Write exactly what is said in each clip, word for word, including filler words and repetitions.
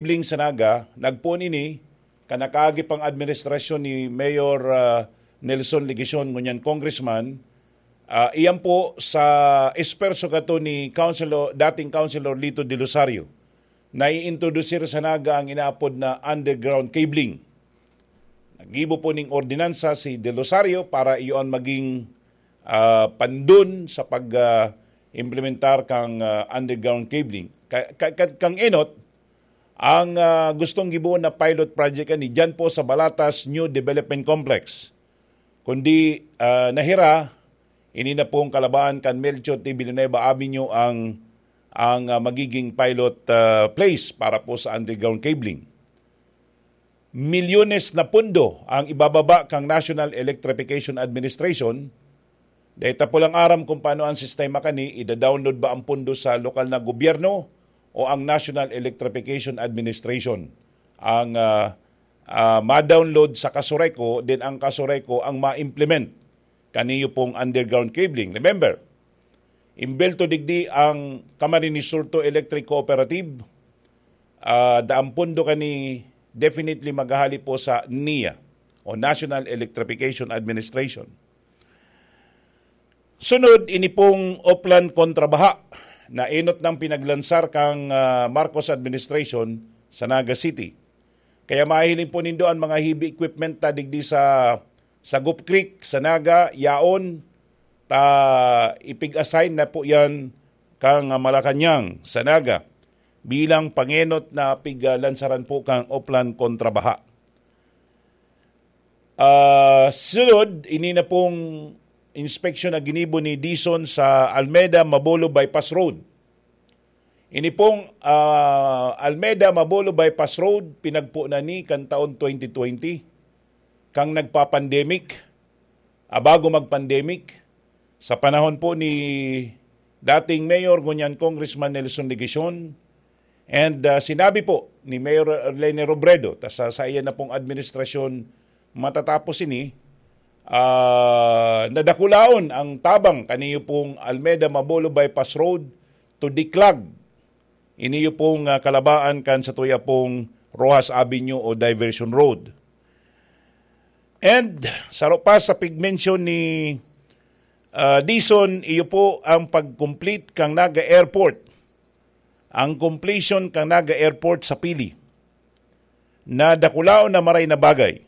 Kibling sa Naga, nagpoon ini kan nakaagi pang administrasyon ni Mayor, ah, Nelson Legacion, ngunyan congressman. Ah, iyan po sa esperso kato ni Councilor, dating Councilor Lito De Rosario, na iintrodusir sa Naga ang inaapod na underground cabling. Naggibo po ning ordinansa si De Rosario para iyon maging, ah, pandun sa pag, ah, implementar kang, ah, underground cabling. Ka-, ka-, ka-, kang enot, ang, ah, gustong gibohon na pilot project ani diyan po sa Balatas New Development Complex. Kundi, ah, nahira, ini na pong kalabaan kan Melchor T. Villanueva Avenue ang, ang, ah, magiging pilot, ah, place para po sa underground cabling. Milyones na pundo ang ibababa kang National Electrification Administration. Dahil ta po lang aram kung paano ang sistema kani, ida-download ba ang pundo sa lokal na gobyerno o ang National Electrification Administration ang, ah, ah, ma-download sa Casureco, then ang Casureco ang ma-implement kaniyo pong underground cabling. Remember, imbelto digdi ang Camarines Sur Two Electric Cooperative, ah, daang pundo kani definitely maghahali po sa NEA o National Electrification Administration. Sunod, ini pong Oplan kontra Baha na enot nang pinaglansar kang, ah, Marcos administration sa Naga City. Kaya mahiling po nindo ang mga heavy equipment ta digdi sa, sa Gup Creek, sa Naga, yaon, ta ipig-assign na po yan kang, ah, Malacañang, sa Naga, bilang pangenot na piglansaran po kang Oplan kontra Baha. Ah, sunod, ini na pong inspeksyon na ginibo ni Dison sa Almeda Mabolo Bypass Road. Ini pong, ah, Almeda Mabolo Bypass Road, pinagpo na ni kan taon twenty twenty, kang nagpa-pandemic, ah, bago mag-pandemic, sa panahon po ni dating Mayor, ngunyan Congressman Nelson Legacion, and, ah, sinabi po ni Mayor Leni Robredo, ta sa, sa iyan na pong administrasyon matatapos ini, ah, nadakulaon ang tabang kaniyo pong Almeda Mabolo Bypass Road to Diclag. Iniyo pong, ah, kalabaan kan satuya pong Roxas Avenue o Diversion Road. And saro pa sa pigmensyon ni, ah, Dison, iyo po ang pag-complete kang Naga Airport. Ang completion kang Naga Airport sa Pili. Na dakulaon na maray na bagay.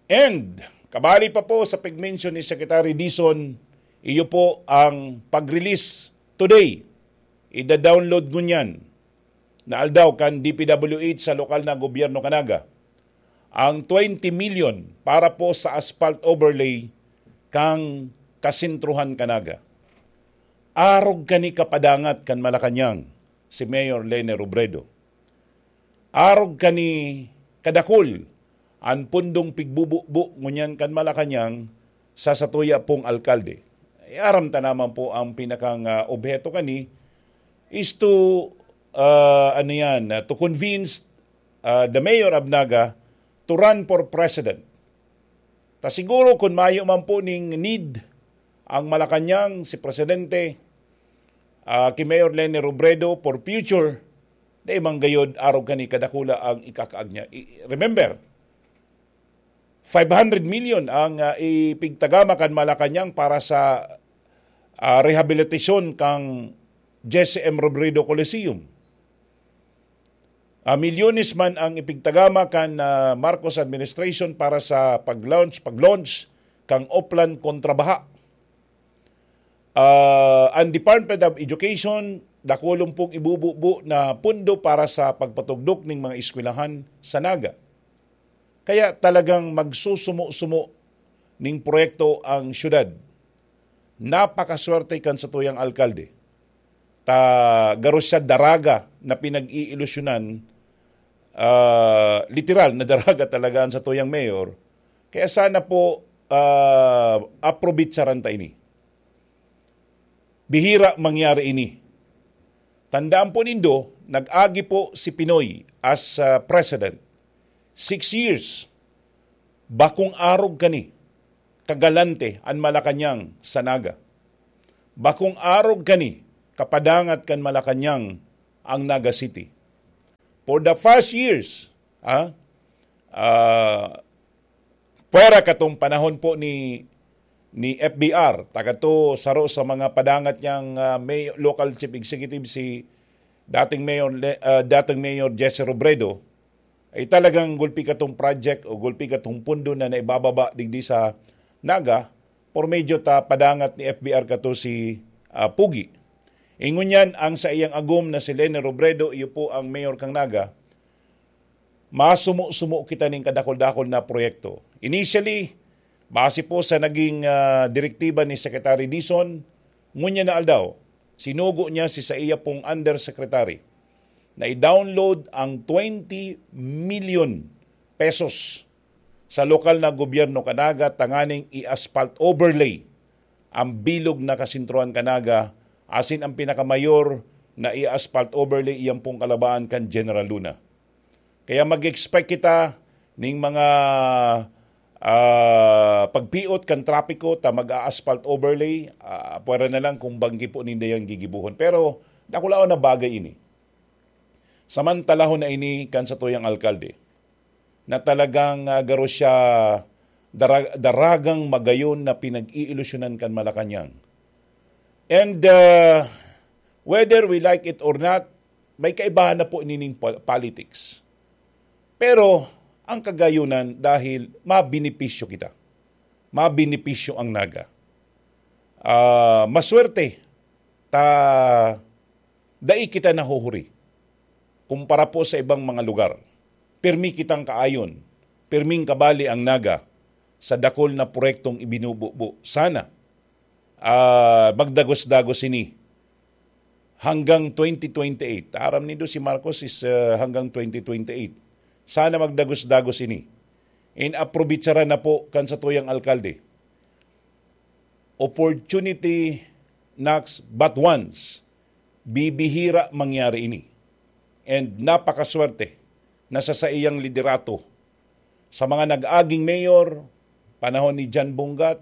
And kabali pa po sa pigmensyon ni Secretary Dison, iyo po ang pag-release today. Ida-download ngunyan na aldaw kan D P W H sa lokal na gobyerno kan Naga ang twenty million para po sa asphalt overlay kang kasentruhan kan Naga. Arog kani kapadangat kan Malacañang si Mayor Leni Robredo. Arog kani kadakul an pundong pigbububo ngunyan kan Malacañang sa satuya pong alkalde. Eh, aram ta naman po ang pinakang, ah, obheto kani is to, ah, ano yan, ah, to convince, ah, the mayor of Naga to run for president. Ta siguro kun mayo man po ning need ang Malacañang, si Presidente, ah, ki Mayor Leni Robredo for future, dai man gayod arog kani kadakula ang ikakaag niya. I-, remember, five hundred million ang, ah, ipigtagama kan Malacañang para sa, ah, rehabilitasyon kang Jesse M Robredo Coliseum. Ah, milyones man ang ipigtagama kan, ah, Marcos administration para sa pag-launch, pag-launch kang Oplan kontra Baha. Ah, ang Department of Education, dakulon pong ibububo na pundo para sa pagpatugdok ning mga eskwelahan sa Naga. Kaya talagang magsusumo-sumo ning proyekto ang syudad. Napakaswerte kan satuyang alkalde. Ta garo siya daraga na pinag-iilusyonan, ah, literal na daraga talaga ang satuyang mayor. Kaya sana po, ah, aprobitsaran ta ini. Bihira mangyari ini. Tandaan po nindo, nag-agi po si Pinoy as, ah, president. Six years. Bakong arog kani kagalante an Malacañang sa Naga. Bakong arog kani kapadangat kan Malacañang ang Naga City. For the first years, ah, ah, pwera katong panahon po ni, ni F B R, ta kato saro sa mga padangat niyang, ah, may-, local chief executive, si dating Mayor Le-, ah, dating Mayor Jesse Robredo, ay talagang gulpi katong project o gulpi katong pundo na naibababa digdi sa Naga, por medyo ta padangat ni F B R kato si, ah, Pugi. Ingon yan, ang saiyang agom na si Leni Robredo, iyo po ang mayor kan Naga, masumo-sumo kita ning kadakol-dakol na proyekto. Initially, base po sa naging, ah, direktiba ni Secretary Dizon, ngunyan na aldaw, sinugo niya si saiya pong undersecretary na i-download ang twenty million pesos sa lokal na gobyerno kan Naga tanganing i-asphalt overlay ang bilog na kasentrohan kan Naga, asin ang pinakamayor na i-asphalt overlay iyan pong kalabaan kan General Luna. Kaya mag-expect kita ning mga, ah, pagpiot kan trapiko ta mag-a-asphalt overlay, ah, pwera na lang kung banggi po ninda yang gigibuhon. Pero dakulaon na bagay ini. Samantalahon na ini kan satuyang alkalde na talagang, ah, garo siya dara-, daragang magayon na pinag-iilusyonan kan Malacañang. And, ah, whether we like it or not, may kaibahan na po nining pol-, politics. Pero ang kagayonan, dahil mabenepisyo kita. Mabenepisyo ang Naga. Ah, maswerte ta dai kita nahuhuri kumpara po sa ibang mga lugar. Pirmi kitang kaayon, pirming kabali ang Naga sa dakul na proyektong ibinububo. Sana, ah, magdagos-dagos ini hanggang twenty twenty-eight. Aram nindo si Marcos is, ah, hanggang twenty twenty-eight. Sana magdagos-dagos ini. In-aprovechara na po kan satuyang alkalde. Opportunity knocks but once. Bibihira mangyari ini. And napakaswerte na sa saiyang liderato. Sa mga nag-aging mayor, panahon ni John Bunggat,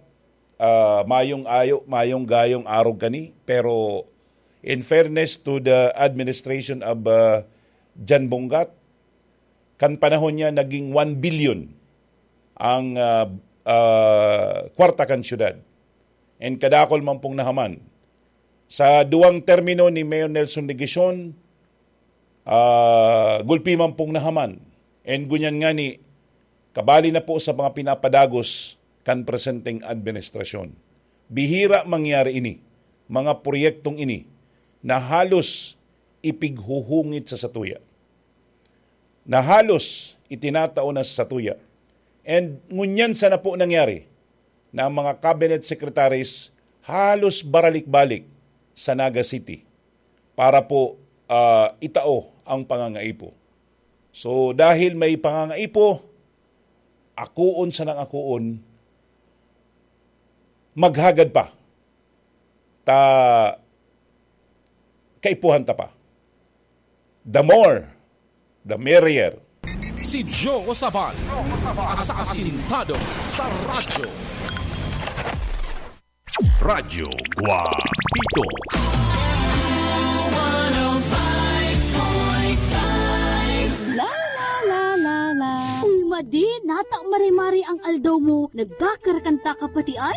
ah, mayong ayo, mayong gayong arog kani. Pero in fairness to the administration of, ah, John Bunggat, kan panahon niya naging one billion ang, ah, ah, kwarta kan syudad. And kadakol man pong nahaman. Sa duwang termino ni Mayor Nelson Legacion, ah, gulpi man pong nahaman. And ngunyan ngani, kabali na po sa mga pinapadagos kan presenteng administrasyon. Bihira mangyari ini, mga proyektong ini na halos ipighuhungit sa satuya, na halos itinatao na sa satuya. And ngunyan sana po nangyari na ang mga cabinet secretaries halos baralik-balik sa Naga City para po, ah, itao ang pangangaipo. So, dahil may pangangaipo, akoon sanang akoon, maghagad pa ta kaipuhan ta pa. The more, the merrier. Si Joe Sabal, asasintado sa radyo. Radyo Guapito. La la la la la. Uy, Madi, nata mare-mare ang aldaw mo. Nagkakarakanta ka pati ay.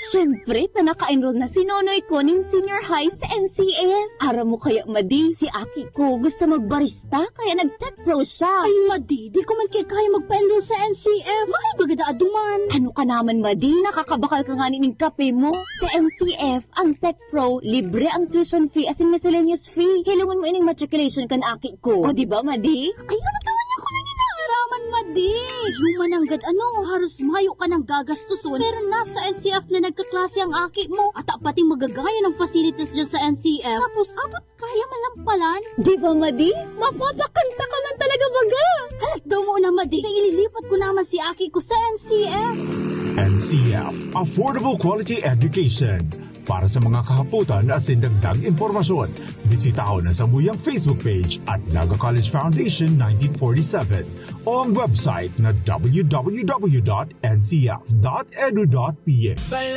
Siyempre, ta naka-enroll na si Nonoy ko nin senior high sa N C F. Aram mo kaya, Madi, si aki ko gusto magbarista, kaya nag-tech pro siya. Ay, Madi, di ko man kaya magpa-enroll sa N C F. Mahal baga da aduman. Ano ka naman, Madi? Nakakabakal ka nga nin kape mo. Sa N C F, ang tech pro, libre ang tuition fee asin miscellaneous fee. Hilongon mo ining matriculation kan aki ko. O, di ba, Madi? Ay, ano ka man ako nang inaaraman, Madi? Human nanggad ano, haros mayo ka nang gagastuson. Pero nasa N C F na nagkaklase ang aki mo. At pati magagaya ng facilities dyan sa N C F. Tapos, abot kaya man lang palan. Di ba, Madi? Mapapakanta ka man talaga, baga! Halat daw mo na, Madi. Kaya ililipat ko naman si aki ko sa N C F. N C F, Affordable Quality Education. Para sa mga kahapotan asin dagdag impormasyon, bisitahon ang samuyang Facebook page at Naga College Foundation nineteen forty-seven o ang website na w w w dot n c f dot e d u dot p h.